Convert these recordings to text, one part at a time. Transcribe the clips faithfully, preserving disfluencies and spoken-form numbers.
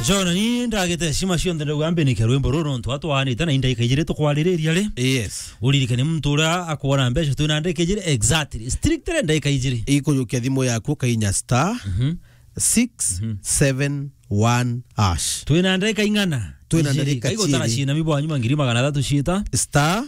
John, ni ndagite heshima cionthe ndauga mbinike rwimbo ruru nontu atwaanite na indaika ijiri tukwaririria ri. Yes. Uririkane muntu uria akwona mbeca twina ndaika ijiri exactly. Strictly ndaika ijiri. Ikujukia thimu yaku ukainya star Mhm. six seven one hash. Twina ndaika ing'ana? Twina Ijiri. Ndaika Kaigo tara ciiri. Ciina mibwa nyuma ngiri magana athatu ciita. Star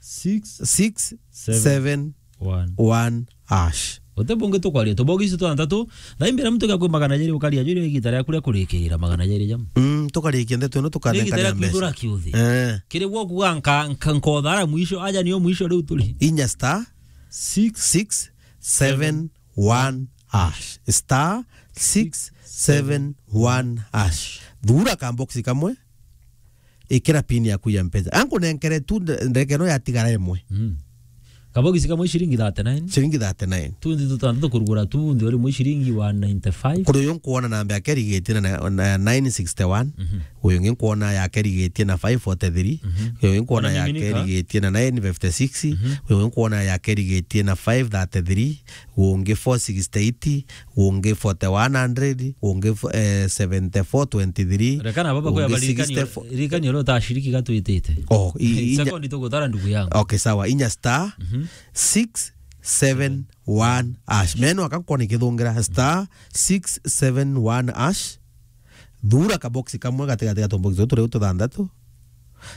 Six, six seven, seven, one, one hash. Uti bungi tukwaria tubogi icio twanthatu, thaimbira muntu gakwi magana jeri ukaria juri igita riaku ria kurikira magana jeri jam. Mm, tukarikia ndeto ino. Ni igita tukanenkanira riaku mbeca. Igura kiuthi. Eh. Kiri gwo kuga nka, nka, nkothara mwisho, aja niyo mwisho riu turi. Inya star six, six seven one hash. Star six seven one hash. Thura kamboksi kamwe. Ikira pin yaku ya Mpesa. Ankunenkere tu nde-, ndeke no yatigara imwe. Mm. Kabogisi kamwe ciringi thirty-nine. Ciringi thirty-nine. Tundi tutantatu kurugura tu, ndi uri mwe ciringi one ninety-five. Kuri uyu nkuona namba yake irigitie na, na, na nine sixty-one. Mhm. Uyu ungi nkuona yake irigitie na five forty-three. Mhm. Uyu ungi nkuona yake irigitie na nine fifty-six. Mhm. Uyu ungi nkuona yake irigitie na five thirty-three. Ungi four sixty-eight. Ungi forty-one hundred, ungi fo-, eh, seventy-four twenty-three, rekana baba ungi kweba ririkani, sixty-four. Ririkani uria utashiriki gatwitite. Oh, i-, inya- sekondi tugutara ndugu yangu. Okay, sawa. Inya star Mhm. six seven one hash. Meno akankona ikithungira star six seven one hash. Thura kaboksi kamwe gatigati ga tuboksi tutu riu tuthanthatu.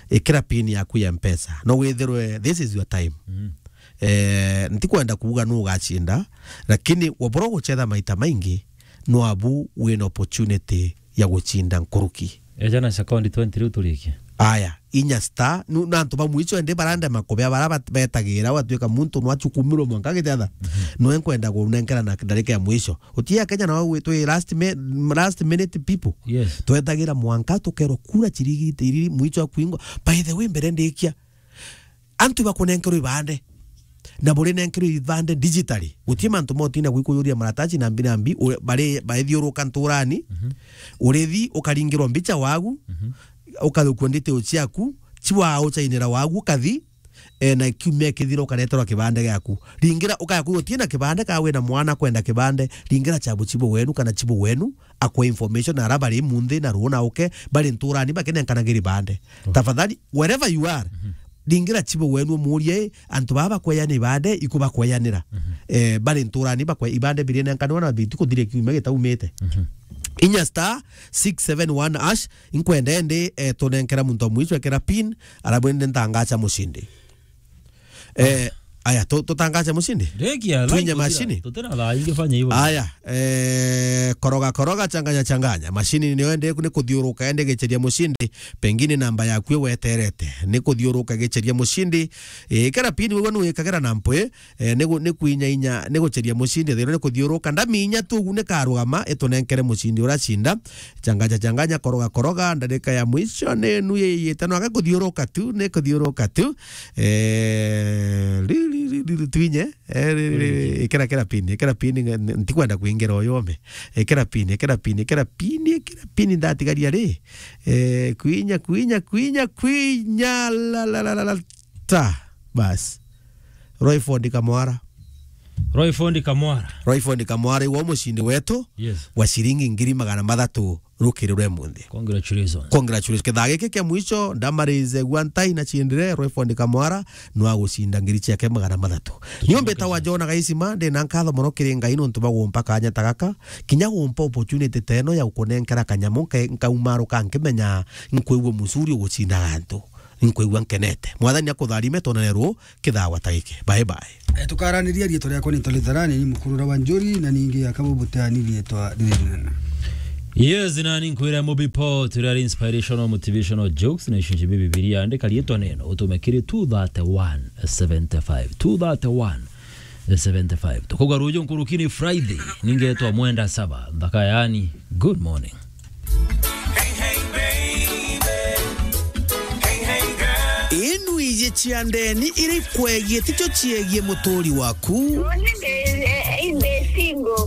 Ikira pin yaku ya Mpesa. No withirwe, this is your time. Mhm. Eh, ntikwenda kuuga nu ugacinda, lakini wabura gucetha maita maingi, no abu wina opportunity ya gucinda nkuruki. Eja na sekondi twenty riu turikie. Aya, inya star, nu-, na antu ba mwicho ende barandema kubea bara bat-, betagira, watuika muntu nwachukumirwe mwanka gicetha. Mhm. Nwe nkwenda kunenkera na ndarika ya mwicho. Utia Kenya na wau twi last mi-, last minute people. Yes. Twetagira mwanka tukerwa kura chirigi tiriri mwicho akwingwa. By the way, mbere ndikia, antu bakunenkerwa ibande, na burinenkerwa ibande digitally. Guti mantu motinda gwikujuria maratachi na mbi na mbi, u-, bari baithiuruka nturani, Mhm. urithi ukaringirwa mbicha wagu, Mhm. ukathukua nditio ciaku, chiwa uchainira wagu ukathi, eh, na kiumia kithira ukareterwa kibande giaku. Ringira ukaya kuuga utina kibande, ka wina mwana kwenda kibande, ringira chabu chibu wenu kana chibu wenu, akwe information ara bari munthi na ruuna uke, bari nturani bakinenkanagira ibande. Oh. Tafadhali, wherever you are, Mhm. ringira chibu wenu umurie, antu baba bakweyanira ibande, iku bakweyanira. Mhm. Eh, bari nturani bakwe-, ibande birinenkanwa na bitikuthiria kiumia gitaumite. Mhm. Inya star six seven one hash, inkwenda ende, eh, tunenkera muntu wa mwicho ekera pin, arabu ende ntangacha mushindi. Eh, aya, tu-, tutangache mushindi? Rekia, twinye like, mashini? Tutira thaa ingi fanya hivyo. Aya, eh, koroga, koroga, changanya, changanya. Mashini niyo ende ku-, ni kuthiuruka, ende gicheria mushindi. Pengine namba yaku iweterete. Ni kuthiuruka gicheria mushindi. Eh, kera pini wewe nuwikagira na mpwe, eh, ni gu-, ni kwinya inya, ni gucheria mushindi. Thiro ni kuthiuruka. Ndaminya tu ugu ni karugama, itunenkere mushindi uracinda. Changanya, changanya, koroga, koroga, ndarika ya mwisho ni nu yiyite, no aga kuthiuruka tu, ni kuthiuruka tu. Eh, ri, ri, ri, ri, ri, twinye, eh, ri, ri, ri, ikira, ikira pin, ikira pin, nge-, n-, ntikwenda kwingira uyu ome. Ikira pin, ikira pin, ikira pin, ikira pin, ndatigaria ri. Eh, kwinya, kwinya, kwinya, kwinya, la, la, la, la, la, ta, bas. Royford Kamwara. Royford Kamwara. Royford Kamwara, iwe mushindi wetu Yes. wa shilingi ngiri magana mathatu rukiri rwe munthi. Congratulations. Congratulations. Kithaa giki kia mwisho, ndamarize gwa ntai na chindire, Royford Kamwara, nwa gucinda ngiri ciake magana mathatu. Nio mbitawa John Gaisima, ndi na nkatho mono kiri Ngai nontu bwa gumpa kanya ta gaka, kinya gumpa opportunity ta ino ya gukunenkera kanyamu, nke-, nkaumaruka nkimenya nkwigua mucuri ugucindaga antu. Nkwigua nkenete. Mwathani akutharime, twonane ruu kithawa ta giki. Bye bye. Eh, tukaraniria, riitwa riakwa ni Tolitharani, ni mukurura wa Njuri, na ningi akabo buteani riitwa riri rinene. Yes, na ni nkwira Mobi Paul, turi ari inspirational, motivational jokes, na icio njibi Bibilia, andika riitwa neno, utume kiri two thirty-one seventy-five. Two thirty-one seventy-five. Tukuga ruju nkuruki ni Friday, ningetwa Mwenda Saba, nthaka yani, good morning. Inu iji cia ndeni iri kwegie ticho ciegie muturi waku. Uni ndi, eh, eh, ndi